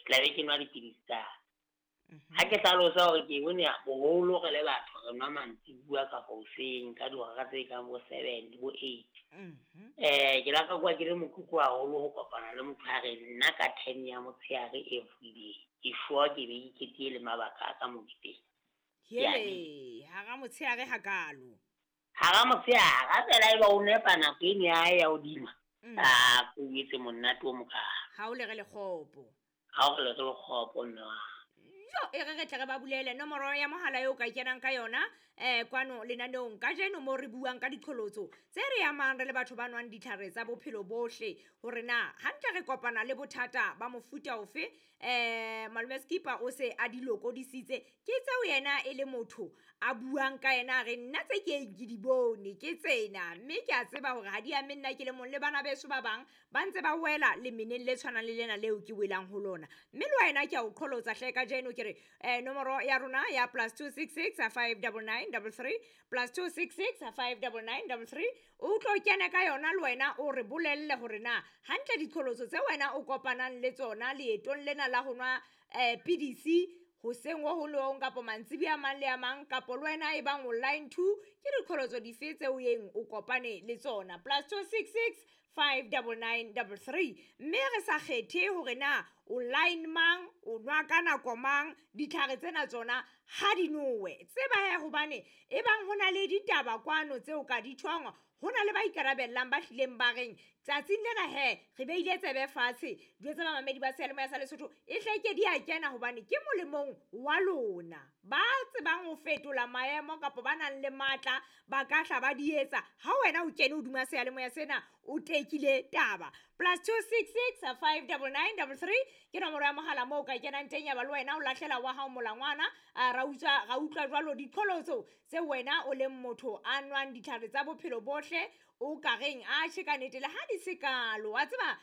Ke tla be ke nwa dipidisi tsa ka. Ha ke hlalosa hore ke bone boholo re le batho re nwa mantsibuya kapa hoseng ka dihora tse kang bo 7 le bo 8. Ke la ka kwa ke le motlotlo haholo ho kopana le motho a re nna ka 10 ya motshehare everyday. Ke sure ke be ke ketile le mabaka a ka mo ke teng. Hele, hara motshehare hakalo. Hara motshehare, ha fela eba o nepa nako eno ya hae ya hodima. A ko etse monate o mokalo. Ha o le re lekgopo. Ha o le re lekgopo mme wa. Jo, e re re tle re ba bulele nomoro ya mohala eo ka kenang ka yona kwano lenaneong kajeno mo re buang ka diqholotso tse re amang re le batho ba nwang ditlhare tsa bophelo bohle, hore na hantle re kopana le bothata ba mofuta ofe. Malome Skipper o se a di lokodisitse, ke tseo yena e le motho a buang ka yena, re nna tse ke ke di bone ke tsena, mme ke a tseba hore ha di ame nna ke le mong le bana beso ba bang ba ntse ba wela lemeneng le tshwanang le lena leo ke welang ho lona. Mme le wena ke a o qholotsa hle kajeno ke re nomoro ya rona ya +266 599 33 +266 599 33 o tlo kene ka yona le wena o re bolelle hore na hantle diqholotso tse wena o kopanang le tsona leetong lena la ho nwa pidisi hoseng ho hong le ho hong kapo mantsibuya a mang le a mang, kapo le wena e bang online 2 ke diqholotso dife tseo yeng o kopane le tsona. +266 599 33. Mme re sa kgethe hore na o line mang, o nwa ka nako mang, ditlhare tsena tsona ha di nowe. Tseba he hobane e bang ho na le ditaba kwano tseo ka di tjhong, ho na le ba ikarabellang ba hlileng ba reng tsatsing lena he re beile tsebe fatshe, jwetsa bamamedi ba seyalemoya sa Lesotho e hleke di a kena hobane ke molemong wa lona. Ba tsebang ho fetola maemo kapa ba nang le matla ba ka hla ba di etsa. Ha wena o kene hodima seyalemoya sena o tekile taba. +266 599 33 ke nomoro ya mohala moo ka kenang teng, ya ba le wena o lahlela wa hao molangwana. Ra utlwa jwalo diqholotso tse wena o leng motho a nwang ditlhare tsa bophelo bohle o ka reng a tjhe ka nnete le ha di se kalo. Wa tseba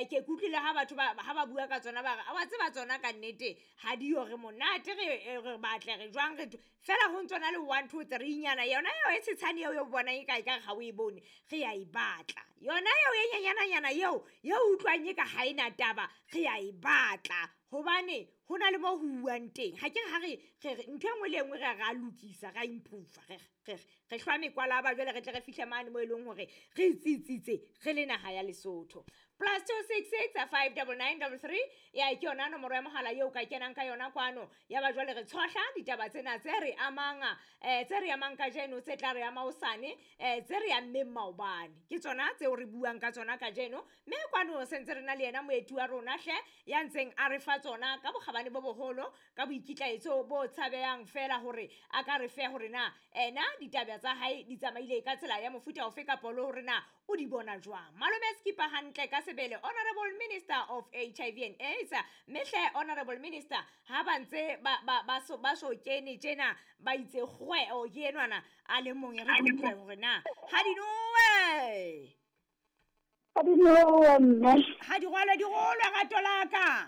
ke kutlwile ha batho ba ha ba bua ka tsona ba re wa tseba tsona ka nnete ha di yo re monate re batle re jwang re fela ho ntsona le 1 2 3 nyana yona eo e tshetshane eo o bonang e ka e ka ha o e bone re ya e batla. Yona eo e nyenyana nyana eo ye utlwang e ka ha ena taba re ya e batla hobane ho na le mo ho uwang teng. Ha ke re ha re ntho e nngwe le e nngwe re ra lokisa, ra improve, re hlwa mekwalaba jwale re tle re fihle mane mo e leng hore re tsitsitse re le naha ya Lesotho. +266 599 33 ya ke yona nomoro ya mohala eo ka kenang ka yona kwano. Ya ba jwale re tshohla ditaba tsena tse re amang tse re amang kajeno, tse tla re ama hosane, tse re ammeng maobane, ke tsona tseo re buang ka tsona kajeno. Mme kwano se ntse re na le yena moeti wa rona hle ya ntseng a re fa tsona ka bokgabane bo boholo, ka boikitlaetso bo tshabehang fela hore a ka re fe hore na ena ditaba tsa hae di tsamaile ka tsela ya mofuta ofe kapo le hore na o di bona jwang. Malome Skipper hantle ka sebele, Honorable Minister of HIV and AIDS. Mme hle Honorable Minister ha ba ntse ba so kene tjena ba itse kgwe o ke enwana a le mong re utlwe hore na ha di nowe. Ha di nowe mme. Ha di rwalwe di rolwe rato la ka.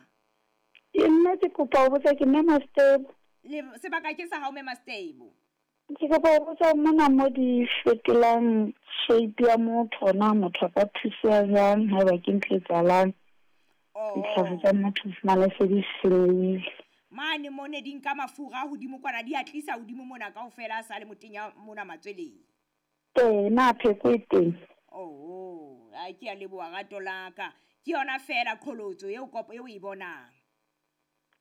Ke nna ke kopa ho botsa, ke Mme Mastable. Le sebaka ke sa hao Mme Mastable. Ke kopa ho botsa mona mo di fetolang shape ya motho, na motho a ka thuseha jwang haeba ke ntho e etsahalang? Ditlhare tsa motho fumane se di senyehile. Mane mo ne di nka mafura hodimo kwana, di a tlisa hodimo mona kaofela a sa le motenya mona matsweleng. Ee, na pheko e teng? Oh, a ke a leboha rato la ka. Ke yona fela qholotso eo kopo eo e bonang.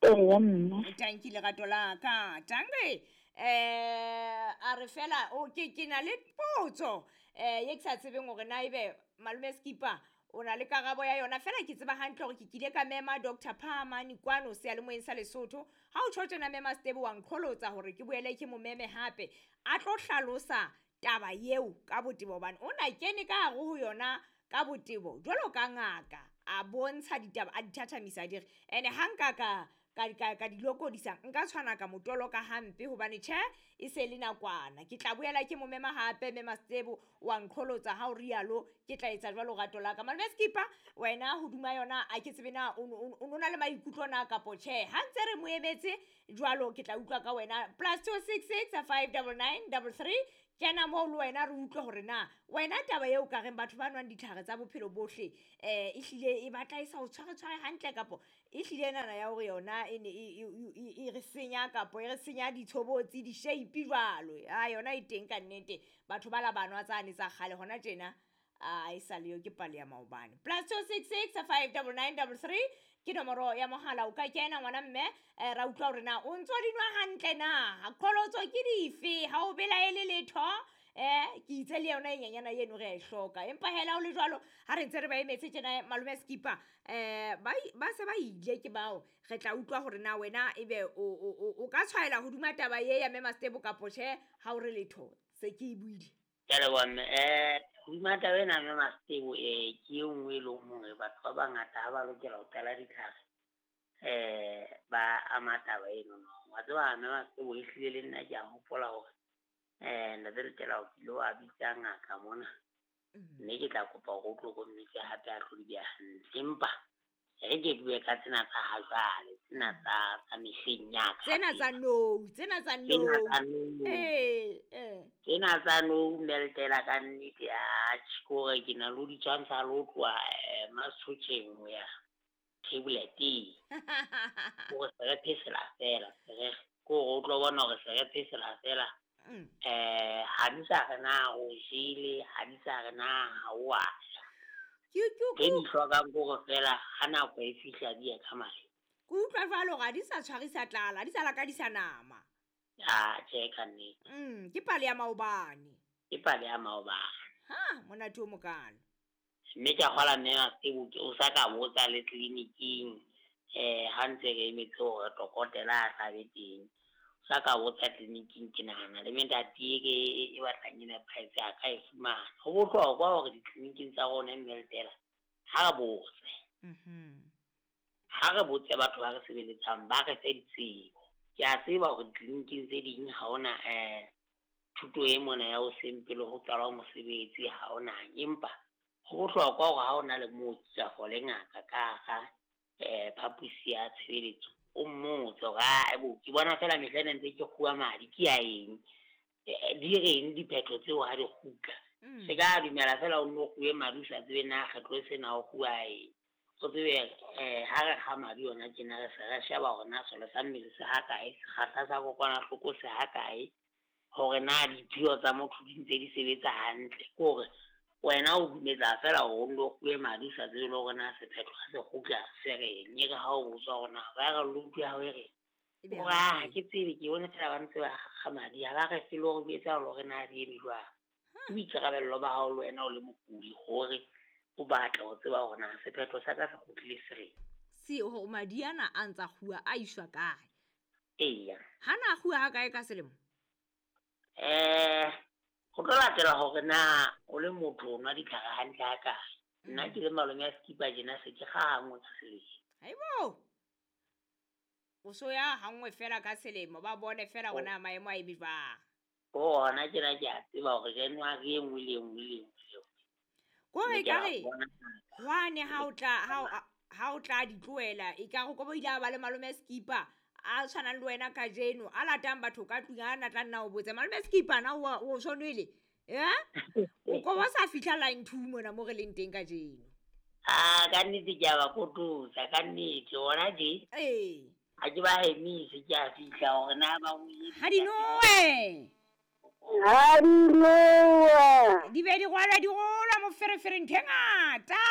Eya mme. Tanki lerato la ka. Tanki a re fela o ke na le potso ye ke sa tsebeng hore na ebe Malome Skipper o na le karabo ya yona. Fela ke tseba hantle hore ke kile ka mema Dr. Phamane kwano seyalemoyeng sa Lesotho. Ha o tjho tjena Mema Stebo wa nqholotsa hore ke boele ke mo meme hape a tlo hlalosa taba eo ka botebo, hobane o na kene ka hare ho yona ka botebo jwalo ka ngaka, a bontsha ditaba a di thathamisa di re ene ha nka ka di lokodisa nka tshwana ka motolo ka hampe hobane tjhe e se le nakwana. Ke tla boela ke mo mema hape Mema Stebo wa nqholotsa ha o rialo, ke tla etsa jwalo rato la ka. Malome Skipper wena hoduma yona a ke tsebe na o na le maikutlo na kapo tjhe. Ha ntse re mo emetse jwalo ke tla utlwa ka wena. +266 599 33 Kena moo le wena re utlwe hore na wena taba eo ka reng batho ba nwang ditlhare tsa bophelo bohle ehlile e batla e sa o tshware-tshware hantle, kapo ehlile enana ya hore yona e ne e re senya, kapo e re senya ditshobotsi, di-shape jwalo. A yona e teng ka nnete, batho ba la ba nwa tsane tsa kgale, hona tjena a e sa leyo, ke pale ya maobane. +266 599 33 ke nomoro ya mohala, o ka kena ngwana mme, ra utlwa hore na o ntso di nwa hantle na, qholotso ke dife, ha o belaele letho. Ke itse le yona e nyenyana eno re a e hloka, empa hela o le jwalo ha re ntse re ba emetse tjena malome Skipper, ba se ba ile ke bao, re tla utlwa hore na wena ebe o ka tshwaela hodima taba ye ya mme Mastebo kapo tjhe, ha o re letho, se ke e buile. Ke a leboha mme. Hodima taba ena mme Mastebo, ke e nngwe e leng hore batho ba bangata ha ba lokela ho qala ditlhare, ba ama taba eno. Wa tseba mme Mastebo, ehlile le nna ke a hopola hore ntate Letela o kile wa bitsa ngaka mona, mme ke tla kopa hore o tlo ko mmitse hape a tlo di beha hantle. Empa re ke bue ka tsena tsa ha jwale, tsena tsa mehleng ya ka. Tsena tsa nou, tsena tsa nou. Tsena tsa nou mme Letela ka nnete, atjhe, ke hore ke na le ho di tshwantsha le ho tloha Masotjheng ho ya tableteng. Hore se re phesela fela, se re, ke hore o tlo bona hore se re phesela fela. Ha di sa re na o jele, ha di sa re na ha o a ja. Ke di hlokang ke hore fela ha nako e fihla di ye ka madi. Ke utlwa jwalo hore ha di sa tshwarisa tlala, ha di sa lakadisa nama. Ah, tjhe, ka nnete. Ke pale ya maobane. Ke pale ya maobane. Ha, monate o mokalo. Mme ke a kgola mme Mastebo, o sa ka botsa le tleliniking, ha ntse re emetse hore dokotela a tlabe teng. Sa ka botsa tleliniking, ke nahana le metati e batlang e nepahetse a ka e fumana. Ho bohlokwa hore ditleliniking tsa rona mme Letela, ha re botse. Ha re botse batho ba re sebeletsang, ba re fe ditsebo. Ke a tseba hore ditleliniking tse ding ha hona thuto e mona ya hoseng pele ho qalwa mosebetsi, ha hona. Empa ho bohlokwa hore ha hona le mooki kapa le ngaka ka hara phaposi ya tshebeletso, o mmotse hore, ah, bo, ke bona fela mehla ena ntse ke kguwa madi, ke ya eng? Di reng diphetho tseo ha di kgutla? Se ka dumela fela o nno kguwe madi o sa tsebe na kgetlo e sena o kguwa eng. O tsebe, ha re kga madi yona tjena re se re sheba hore na selo sa mmele se ha kae, sekgahla sa kokwanahloko se ha kae, hore na diphio tsa motho di ntse di sebetsa hantle. Ke hore wena o dumetsa fela hore o nno kguwe madi o sa tsebe le hore na sephetho ha se kgutla se reng. E re ha o botswa hore na viral load ya hao e reng, Ebe hore ha ha ke tsebe, ke bone fela ba ntse ba kga madi, ha ba re fe le hore ho etsahala hore na di eme jwang. Ke boikarabello ba hao le wena o le mokudi hore o batla ho tseba hore na sephetho sa ka se kgutlile se reng. Se hore madi ana a ntsa kguwa a iswa kae? Eya. Ha na kguwa ha kae ka selemo? Ho tlo latela hore na o le motho o nwa ditlhare hantle ha kae. Nna ke le malome ya Skipper tjena se ke kga hanngwe ka selemo. Haibo! O so ya hanngwe fela ka selemo, ba bone fela hore na maemo a eme jwang. Hona tjena ke a tseba hore January e nngwe le e nngwe le e nngwe le e nngwe. Ko re Mme ke ka a re, bona. hwane ha o tla di tlohela, e ka re ko bo ile a ba le malome Skipper a tshwanang le wena kajeno, a latang batho ka tlung, a na tla nna o botse, malome Skipper na o so nwele? O ko ba sa fihla line 2 mona mo re leng teng kajeno. Ah, ka nnete ke a ba kototsa, ka nnete, hona tje. Ee. Ha ke ba hemise, ke a fihla hore na ba o Ha di nowe. Ha di nowe. Di be di rwalwa, di rolwa moferefere ntho e ngata.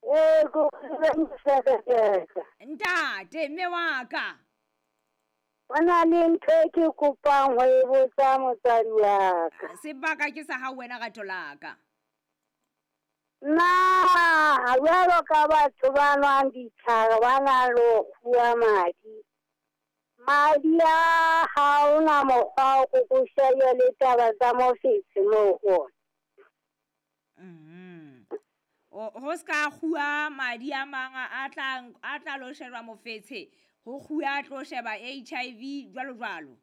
Ee, ko moferefere. Ntate, mme wa ka. Ho na le ntho e ke kopang ho e botsa motswadi wa ka. Sebaka ke sa hao wena rato la ka. Na jwalo ka batho ba nwang ditlhare ba nang le ho kguwa madi, madi a ha hona mokgwa o ko shebe le taba tsa mofetshe moo ho ona. Ho ska kguwa madi a mang a tla lo sheba mofetshe, ho kguwa a tlo sheba HIV jwalo jwalo.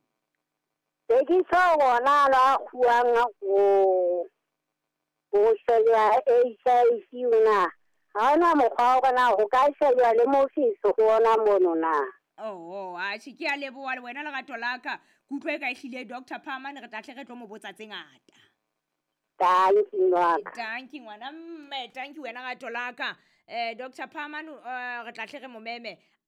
Be ke tjho hona la kguwang ho sheba HIV na. Ha hona mokgwa wa hore na ho ka shejwa le mofetshe ho ona mono na. Oh, atjhe, ke a leboha le wena lerato la ka. Ke utlwa e ka ehlile Dr. Phamane re tla tle re tlo mo botsa tse ngata. Dankie ngwaka. Dankie ngwana mme, dankie wena rato la ka. Dr. Phamane re tla tle re mo meme.